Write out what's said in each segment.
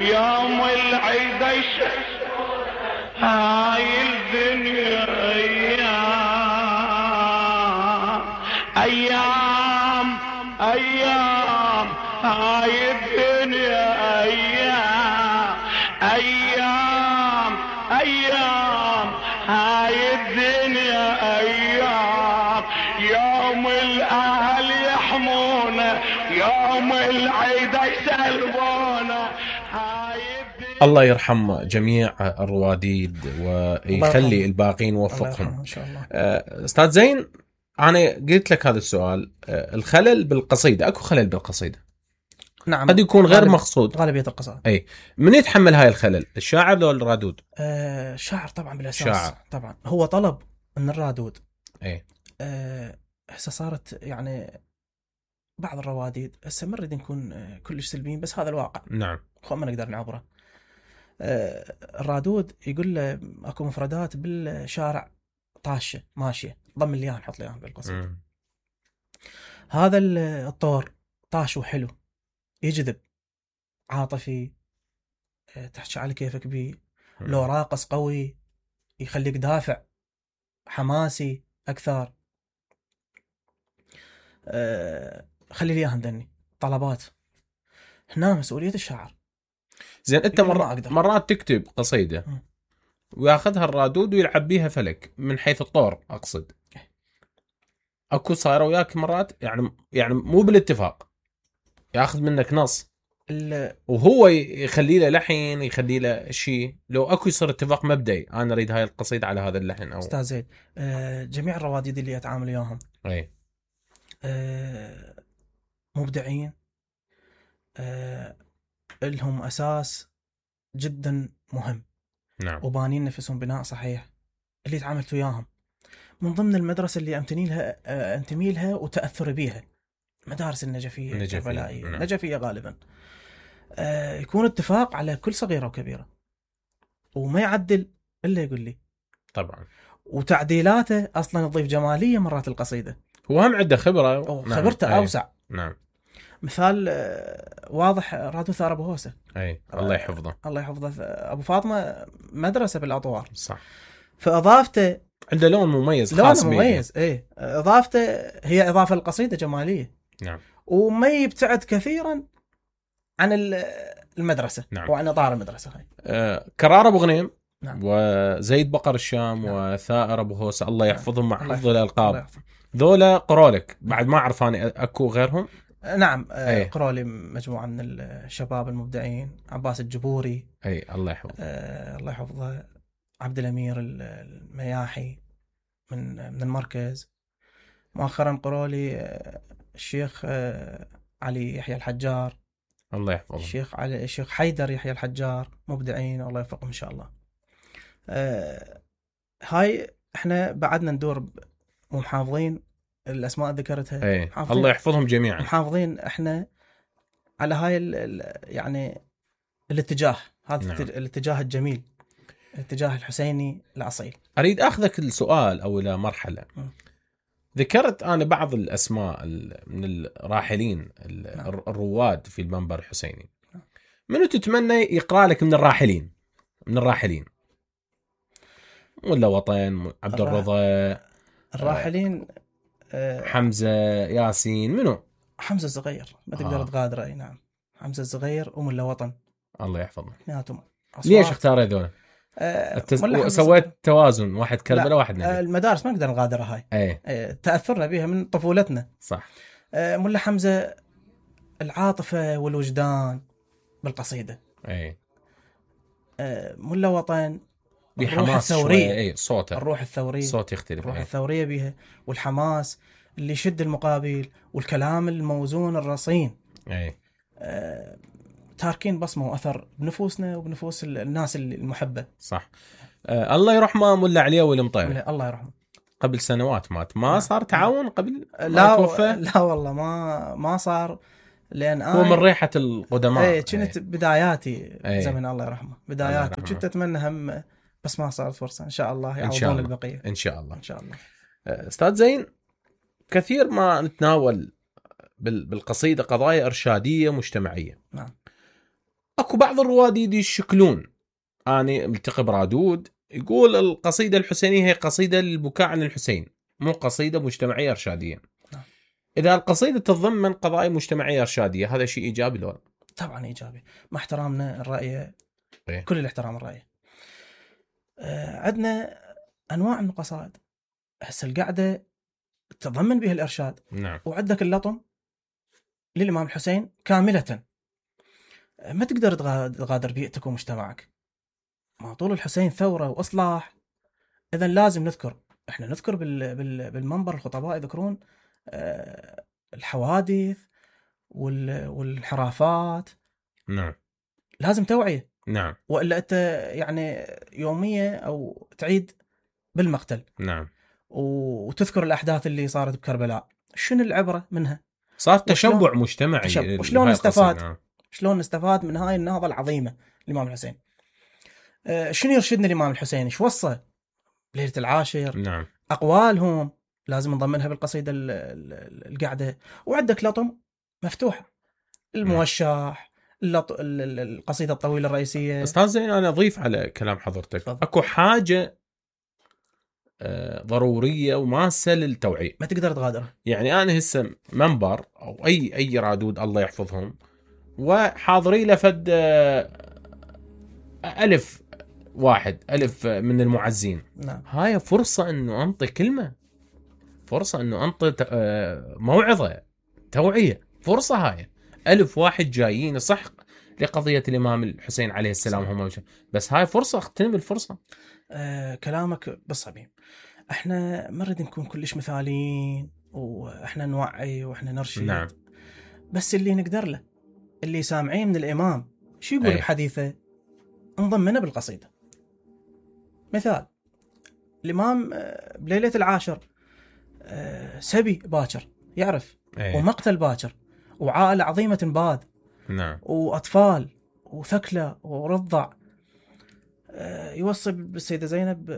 يوم العيد هاي الدنيا ايام ايام هاي الدنيا ايام ايام هاي الدنيا ايام يوم الاهل يحمونا يوم العيد يسلمونا. الله يرحم جميع الرواديد ويخلي الباقين وفقهم ان شاء الله. استاذ زين، انا قلت لك هذا السؤال، الخلل بالقصيده، اكو خلل بالقصيده؟ نعم، قد يكون غير مقصود. غالبيه القصائد. اي، من يتحمل هاي الخلل، الشاعر لو الرادود؟ الشاعر طبعا بالاساس. شاعر طبعا هو طلب من الرادود. اي هسه صارت يعني بعض الرواديد هسه ما نريد نكون كلش سلبيين، بس هذا الواقع. نعم، ما نقدر نعبره. الرادود يقول له اكو مفردات بالشارع طاشه ماشيه، ضم لي اياها نحط لي اياها بالقصيده. هذا الطور طاش وحلو، يجذب، عاطفي، تحكي على كيفك بيه. لو راقص قوي يخليك دافع، حماسي اكثر. خلي لي اياها مدني طلبات. هنا مسؤوليه الشاعر. زين، انت مرات تكتب قصيده وياخذها الرادود ويلعب بيها فلك من حيث الطور، اقصد اكو صايره وياك مرات يعني مو بالاتفاق، ياخذ منك نص وهو يخلي له لحن، يخلي له شيء، لو اكو يصير اتفاق مبدئي انا اريد هاي القصيده على هذا اللحن. او استاذ زيد، جميع الرواديد اللي اتعامل وياهم اي مبدعين، لهم اساس جدا مهم. نعم، وبانين نفسهم بناء صحيح. اللي تعاملت وياهم من ضمن المدرسه اللي انتمي لها وتاثر بيها، مدارس النجفيه الجبلائيه. نعم. نجفيه غالبا. يكون اتفاق على كل صغيره وكبيره، وما يعدل الا يقول لي. طبعا. وتعديلاته اصلا تضيف جماليه مرات القصيده. هو هم عنده خبره، خبرته اوسع. نعم. مثال واضح، رادو ثار ابو هوسه. اي، الله يحفظه. الله يحفظه. ابو فاطمه مدرسه بالاطوار. صح. فاضافته عنده لون مميز، خاص لون مميز. اي، اضافته هي اضافه للقصيده جماليه. نعم. وما يبتعد كثيرا عن المدرسه. نعم. وعن اطار المدرسه هاي. كرار ابو غنيم. نعم. وزيد بقر الشام. نعم. وثائر ابو هوسه، الله يحفظهم مع حفظ الالقاب. الله ذولا قرولك بعد ما اعرف انا اكو غيرهم. نعم. قرولي مجموعه من الشباب المبدعين. عباس الجبوري. اي، الله يحفظه. الله يحفظه. عبد الامير المياحي من المركز. مؤخرا قرولي الشيخ علي يحيى الحجار. الله يحفظه. الشيخ حيدر يحيى الحجار، مبدعين الله يوفقهم ان شاء الله. هاي احنا بعدنا ندور ومحافظين الاسماء ذكرتها. الله يحفظهم جميعا. محافظين احنا على هاي يعني الاتجاه هذا. نعم. الاتجاه الجميل، الاتجاه الحسيني الاصيل. اريد اخذك السؤال او الى مرحله. ذكرت انا بعض الاسماء من الراحلين. نعم. الرواد في المنبر الحسيني. نعم. منو تتمنى يقرا لك من الراحلين؟ ولا وطن، عبد الرضا، الراحلين، حمزه، ياسين، منو؟ حمزه الصغير ما تقدر تغادره. اي نعم، حمزه الصغير ولا وطن. الله يحفظه. ليش اختار هذول؟ سويت توازن، واحد كربلاء واحد نجف. المدارس ما نقدر نغادرها هاي. تأثرنا بها من طفولتنا. صح. ملا حمزة العاطفة والوجدان بالقصيدة. ملا وطن بحماس شوية. صوته، الروح الثورية، صوت يختلف. الروح الثورية بها، والحماس اللي يشد المقابل، والكلام الموزون الرصين. تاركين بصمة وأثر بنفوسنا وبنفوس الناس المحبة. صح. الله يرحمه ملا علي والمطير. الله يرحمه. قبل سنوات مات. ما صار تعاون قبل لا توفى؟ لا والله ما صار، لأن هو من ريحة القدماء. كنت بداياتي زمن الله يرحمه، بداياتي، وكنت أتمنى هم، بس ما صارت فرصة. إن شاء الله يعوضون البقية. إن شاء الله. إن شاء الله. أستاذ زين، كثير ما نتناول بالقصيدة قضايا إرشادية مجتمعية. نعم. اكو بعض الرواديد يشكلون. أنا ملتقي برادود يقول القصيدة الحسينية هي قصيدة للبكاء عن الحسين، مو قصيدة مجتمعية إرشادية. إذا القصيدة تتضمن قضايا مجتمعية إرشادية هذا شيء إيجابي لو؟ طبعا إيجابي، مع احترامنا الرأي، إيه؟ كل الاحترام الرأي. عندنا أنواع من القصائد هسه القاعدة تتضمن بها الإرشاد. نعم. وعندك اللطم للإمام الحسين كاملة، ما تقدر تغادر بيئتك ومجتمعك. ما طول الحسين ثورة وإصلاح، إذن لازم نذكر، إحنا نذكر بالمنبر الخطباء يذكرون الحوادث والانحرافات. نعم. لازم توعية. نعم. وإلا أنت يعني يومية أو تعيد بالمقتل. نعم. وتذكر الأحداث اللي صارت بكربلاء، شنو العبرة منها؟ صار تشبع مجتمعي. وشلون نستفاد؟ نعم. شلون نستفاد من هاي النهضة العظيمة الإمام الحسين؟ شنو يرشدنا الإمام الحسين؟ ايش وصى ليلة العاشر؟ نعم. أقوالهم لازم نضمنها بالقصيدة القعدة. وعندك لطم مفتوحة، الموشح، القصيدة الطويلة الرئيسية. أستاذ زين، أنا أضيف على كلام حضرتك، أكو حاجة ضرورية وماسة للتوعية، ما تقدر تغادرها. يعني أنا هسه منبر أو أي رادود الله يحفظهم وحاضري لفد 1000 من المعزين. نعم. هاي فرصة أنه أنطي كلمة، فرصة أنه أنطي موعظة، توعية، فرصة. هاي 1000 واحد جايين صح لقضية الإمام الحسين عليه السلام هم، بس هاي فرصة، اغتنم الفرصة. كلامك بالصميم. احنا ما نريد نكون كلش مثاليين، واحنا نوعي واحنا نرشد. نعم. بس اللي نقدر له، اللي سامعين من الإمام شو يقول بحديثه نضمنه بالقصيدة. مثال الإمام بليلة العاشر سبي باكر يعرف، ومقتل باكر، وعائلة عظيمة باد. نعم. وأطفال وثكلى ورضع. يوصي بالسيدة زينب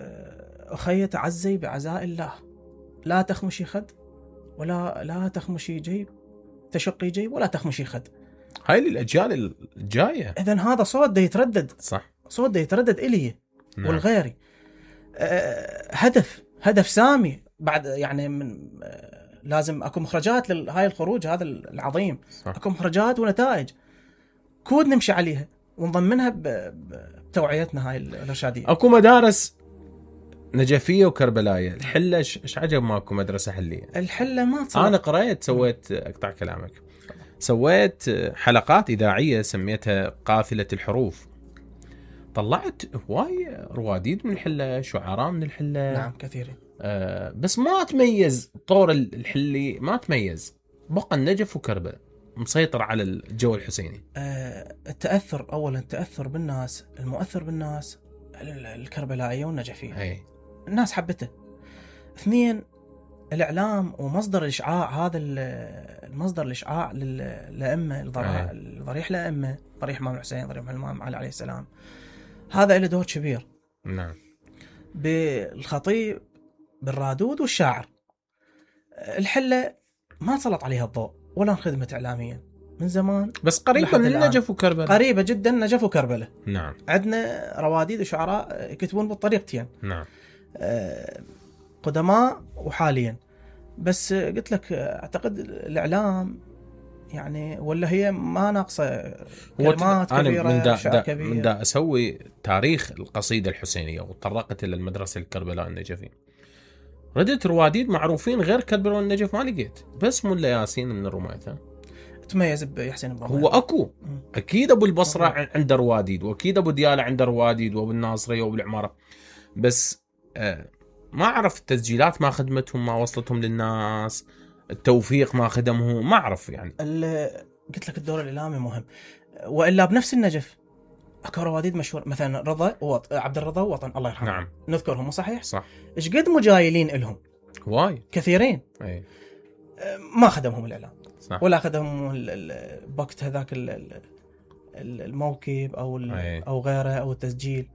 أخي تعزي بعزاء الله، لا تخمشي خد لا تخمشي جيب، تشقي جيب ولا تخمشي خد. هاي للأجيال الجاية. إذن هذا صوت دا يتردد، صح، صوت دا يتردد إلي. نعم. والغيري هدف سامي بعد، يعني من لازم أكو مخرجات لهاي الخروج هذا العظيم. صح. أكو مخرجات ونتائج كود نمشي عليها ونضمنها بتوعيتنا هاي الإرشادية. أكو مدارس نجفية وكربلاية. الحلة ايش عجب ماكو مدرسة حلية؟ الحلة ما تصير. أنا قرأت، سويت أقطع كلامك، سويت حلقات إذاعية سميتها قافلة الحروف. طلعت هواي رواديد من الحلة، شعراء من الحلة. نعم كثيرين. بس ما تميز طور الحلي، ما تميز، بقى النجف وكربلاء مسيطر على الجو الحسيني. التأثر، أولا التأثر بالناس، المؤثر بالناس الكربلائية والنجفية. أي. الناس حبته. 2 الإعلام ومصدر الإشعاع، هذا المصدر الإشعاع للأئمة، الضريح للأئمة، ضريح الإمام الحسين، ضريح الإمام علي عليه السلام، هذا له دور كبير. نعم. بالخطيب، بالرادود والشاعر. الحلة ما سلط عليها الضوء ولا انخدمت إعلاميا من زمان، بس قريبة من نجف وكربلاء. قريبة جدا نجف وكربلاء. نعم. عندنا رواديد وشعراء يكتبون بالطريقتين. نعم. قدماء وحاليا. بس قلت لك اعتقد الإعلام يعني، ولا هي ما ناقصة كلمات كبيرة، من دا أسوي تاريخ القصيدة الحسينية وطرقت إلى المدرسة الكربلاء النجفي. ردت رواديد معروفين غير كربلاء والنجف ما لقيت، بس ملا ياسين من الرمايثة تميز بيحسين بن هو أكو أكيد أبو البصرة عنده رواديد، وأكيد أبو ديالة عنده رواديد، وأبو الناصرية وأبو العمارة، بس ما أعرف التسجيلات ما خدمتهم، ما وصلتهم للناس، التوفيق ما خدمهم، ما أعرف يعني. قلت لك الدور الإعلامي مهم. وإلا بنفس النجف أكو رواديد مشهور، مثلا رضا عبد الرضا وطن الله يرحمه. نعم. نذكرهم صحيح؟ صح. إيش قد مجايلين إلهم؟ واي كثيرين. أي. ما خدمهم الإعلام. صح. ولا خدمهم بوقت هذاك الموكب أو غيره أو التسجيل.